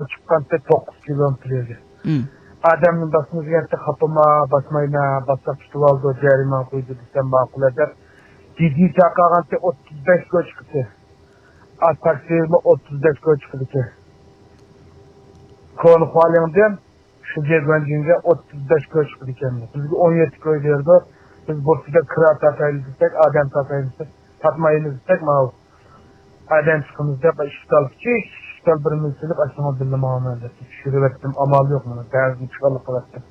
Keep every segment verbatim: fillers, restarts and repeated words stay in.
چىققانتى توققۇز كىلومېتىر يەرگە. مم. ئادەمنى باسمىدىغانتى، خاپىما، باسمايمەن، باسساق تۇتۇۋالىدۇ، جەرىمانە قويىدۇ دېسەم، ماقۇل دەپ. دېدى چاقىرغانتى ئوتتۇز بەش كوچا چىقتى. ئا، تاكسىمۇ ئوتتۇز بەش كوچا چىقىدىكەن. كونا خۇالىڭدىن شۇجيەگۇەنجىنگە ئوتتۇز بەش كوچا چىقىدىكەن. بىزگە ئون يەتتە كوي بېرىدۇ. بىز بۇرسىدا كىرا تارتايلى دېسەك، ئادەم تارتايلى دېسەك، تارتمايمىز دېسەك، ماۋۇ ئادەم چىقىمىز دەپ، ئىشتال، كىچىك ئىشتال بىر مىل سېلىپ، ئاشۇنىڭغا بىللە ماڭىمەن دەپ چۈشۈرۈۋەتتىم. ئامال يوق، مانا بەزىدە چىقارلىق قىلاتتىم.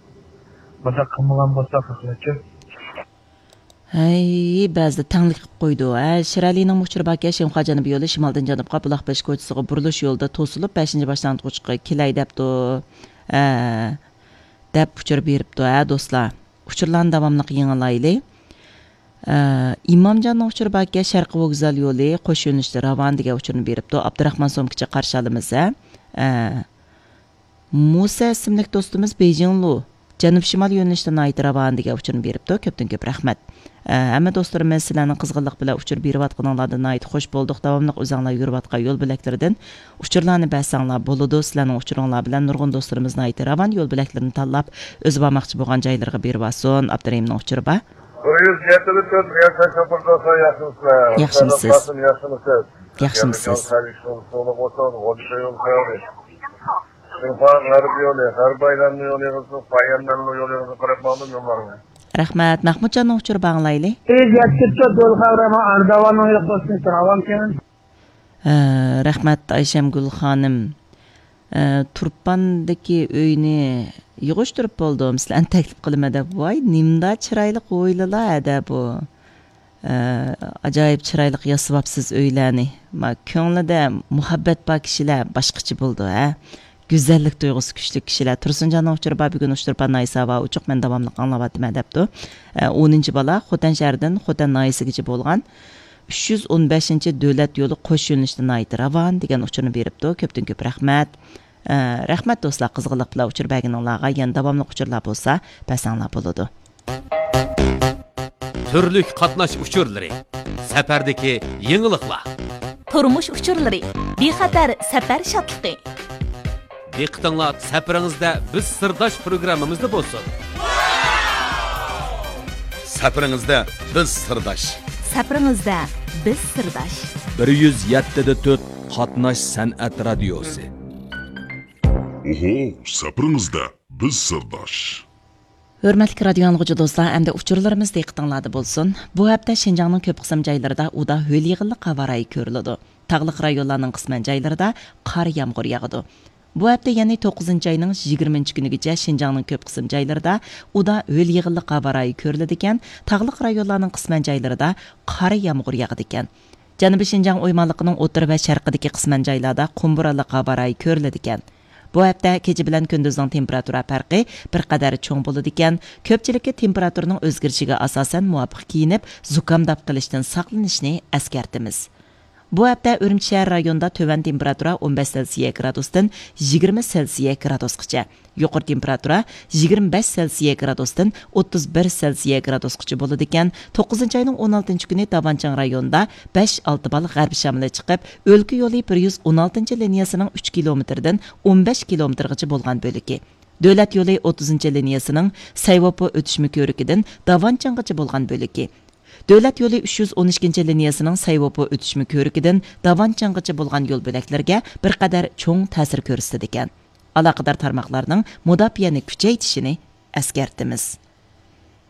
مۇنداق قىلمىغان بولساق، خەقلەرچۇ. ھەي، بەزىدە تەڭلىك قىلىپ قويىدۇ. ھە، شىرئەلىنىڭ ئۇچۇرى باركەن، شىنخۇا جەنۇبىي يولى شىمالدىن جەنۇبقا بۇلاق بېشى كوچىسىغا بۇرۇلۇش يولىدا توسۇلۇپ، بەشىنچى باشلانغۇچقا كېلەي دەپتۇ. ھە، دەپ ئۇچۇر بېرىپتۇ، ھە، دوستلار. ئۇچۇرلارنى داۋاملىق يېڭىلايلى. ئە، ئىمامجاننىڭ ئۇچۇرى باركەن، شەرقىي ۋوگزال يولى قوش يۆنىلىشتە راۋان دېگەن ئۇچۇرنى بېرىپتۇ. ئابدۇراخمان سومكىچە قارشى ئالىمىز، ھە. ئە، مۇسا ئىسىملىك دوستىمىز بېيجىڭلۇ، جەنۇب شىمال يۆنىلىشتە ناھايىتى راۋان دېگەن ئۇچۇرنى بېرىپتۇ. كۆپتىن كۆپ رەھمەت. ئە، ھەممە دوستلىرىمىز سىلەرنىڭ قىزغىنلىق بىلەن ئۇچۇر بېرىۋاتقىنىڭلاردىن ناھايىتى خۇش بولدۇق. داۋاملىق ئۆزەڭلار يۈرۈۋاتقان يول بۆلەكلىرىدىن ئۇچۇرلارنى بەرسەڭلار بولىدۇ. سىلەرنىڭ ئۇچۇرۇڭلار بىلەن نۇرغۇن دوستلىرىمىز ناھايىتى راۋان يول بۆلەكلىرىنى تاللاپ، ئۆزى بارماقچى بولغان جايلىرىغا بېرىۋالسۇن. ئابدۇرېھىمنىڭ ئۇچۇرى بار. بىر يۈز يەتتە تۆت رىياسەت شوپۇر دوستلار، ياخشىمۇسىلەر؟ ياخشىمۇسىز؟ ياخشىمۇسىز؟ ياخشىمۇس سەلىك سولۇق بولسۇن، غوجا يول خەيرى. شىنخۇا غەرب يولى، غەرب ئايلانما يولى يىغىلسۇن، پايەنمەنلۇ يولى يىغىلسۇن، قاراپ ماڭدىم يوللارغا. رەھمەت. مەھمۇتجاننىڭ ئۇچۇرى باڭلايلى. بىر يۈز يەتتە تۆت يول خەۋىرى، ئەرداۋاننىڭ يوق بولسۇن، راۋانكەن. ھە، رەھمەت، ئايشەمگۈل خانىم. ئە، تۇرپاندىكى ئۆينى يىغىشتۇرۇپ بولدۇم، سىلەرنى تەكلىپ قىلىمەن دەپ. ۋاي، نېمىنداق چىرايلىق ھويلىلار ھەدە بۇ. ئە، ئاجايىپ چىرايلىق ياسىۋاپسىز ئۆيلەرنى. ما، كۆڭلىدە مۇھەببەت بار كىشىلەر باشقىچە بولىدۇ، ھە. گۈزەللىك تۇيغۇسى كۈچلۈك كىشىلەر. تۇرسۇنجاننىڭ ئۇچۇرى بار، بۈگۈن ئۇچتۇرپان ناھىيەسى ھاۋا ئوچۇق، مەن داۋاملىق ئاڭلاۋاتىمەن دەپتۇ. ئە، ئونىنچى بالا، خوتەن شەھىرىدىن خوتەن ناھىيەسىگىچە بولغان ئۈچ يۈز ئون بەشىنچى دۆلەت يولى قوش يۆنىلىشتە ناھايىتى راۋان دېگەن ئۇچۇرنى بېرىپتۇ. كۆپتىن كۆپ رەھمەت. ئە، رەھمەت دوستلار، قىزغىنلىق بىلەن ئۇچۇر بەرگىنىڭلارغا. يەنە داۋاملىق ئۇچۇرلار بولسا بەرسەڭلار بولىدۇ. تۈرلۈك قاتناش ئۇچۇرلىرى، سەپەردىكى يېڭىلىقلار. تۇرمۇش ئۇچۇرلىرى، بىخەتەر سەپەر شادلىقى. دىققىتىڭلار سەپىرىڭىزدە بىز سىرداش پروگراممىمىزدا بولسۇن. سەپىرىڭىزدە بىز سىرداش. سەپىرىڭىزدە بىز سىرداش. بىر يۈز يەتتە دە تۆت قاتناش سەنئەت رادىيوسى. ئوھو، سەپىرىڭىزدە بىز سىرداش. ھۆرمەتلىك رادىيو ئاڭلىغۇچى دوستلار، ئەمدى ئۇچۇرلىرىمىز دىققىتىڭلاردا بولسۇن. بۇ ھەپتە شىنجاڭنىڭ كۆپ قىسىم جايلىرىدا ئۇدا ھۆل يېغىنلىق ھاۋا رايى كۆرۈلىدۇ. تاغلىق رايونلارنىڭ قىسمەن جايلىرىدا قار يامغۇر ياغىدۇ. بۇ ھەپتە، يەنى توققۇزىنچى ئاينىڭ يىگىرمىنچى كۈنىگىچە شىنجاڭنىڭ كۆپ قىسىم جايلىرىدا ئۇدا ھۆل يېغىنلىق ھاۋا رايى كۆرۈلىدىكەن، تاغلىق رايونلارنىڭ قىسمەن جايلىرىدا قار يامغۇر ياغىدىكەن. جەنۇبىي شىنجاڭ ئويمانلىقىنىڭ ئوتتۇرا ۋە شەرقىدىكى قىسمەن جايلاردا قۇم بورانلىق ھاۋا رايى كۆرۈلىدىكەن. بۇ ھەپتە كېچە بىلەن كۈندۈزنىڭ تېمپېراتۇرا پەرقى بىر قەدەر چوڭ بولىدىكەن، كۆپچىلىككە تېمپېراتۇرىنىڭ ئۆزگىرىشىگە ئاساسەن مۇۋاپىق كىيىنىپ، زۇكام داپ قىلىشتىن ساقلىنىشنى ئەسكەرتىمىز. بۇ ھەپتە ئۈرۈمچى شەھەر رايونىدا تۆۋەن تېمپېراتۇرا ئون بەش سېلسىيە گرادۇستىن يىگىرمە سېلسىيە گرادۇسقىچە، يۇقىرى تېمپېراتۇرا يىگىرمە بەش سېلسىيە گرادۇستىن ئوتتۇز بىر سېلسىيە گرادۇسقىچە بولىدىكەن. توققۇزىنچى ئاينىڭ ئون ئالتىنچى كۈنى داۋانچىڭ رايونىدا بەش ئالتە بال غەربىي شامىلى چىقىپ، ئۆلكە يولى بىر يۈز ئون ئالتىنچى لىنىيەسىنىڭ ئۈچ كىلومېتىردىن ئون بەش كىلومېتىرغىچە بولغان بۆلىكى، دۆلەت يولى ئوتتۇزىنچى لىنىيەسىنىڭ سەيۋوپو ئۆتۈشمە كۆۋرۈكىدىن داۋانچىڭغىچە بولغان بۆلىكى، دۆلەت يولى ئۈچ يۈز ئون ئىككىنچى لىنىيەسىنىڭ سەيۋوپو ئۆتۈشمە كۆۋرۈكىدىن داۋانچىڭغىچە بولغان يول بۆلەكلىرىگە بىر قەدەر چوڭ تەسىر كۆرسىتىدىكەن. ئالاقىدار تارماقلارنىڭ مۇداپىئەنى كۈچەيتىشىنى ئەسكەرتىمىز.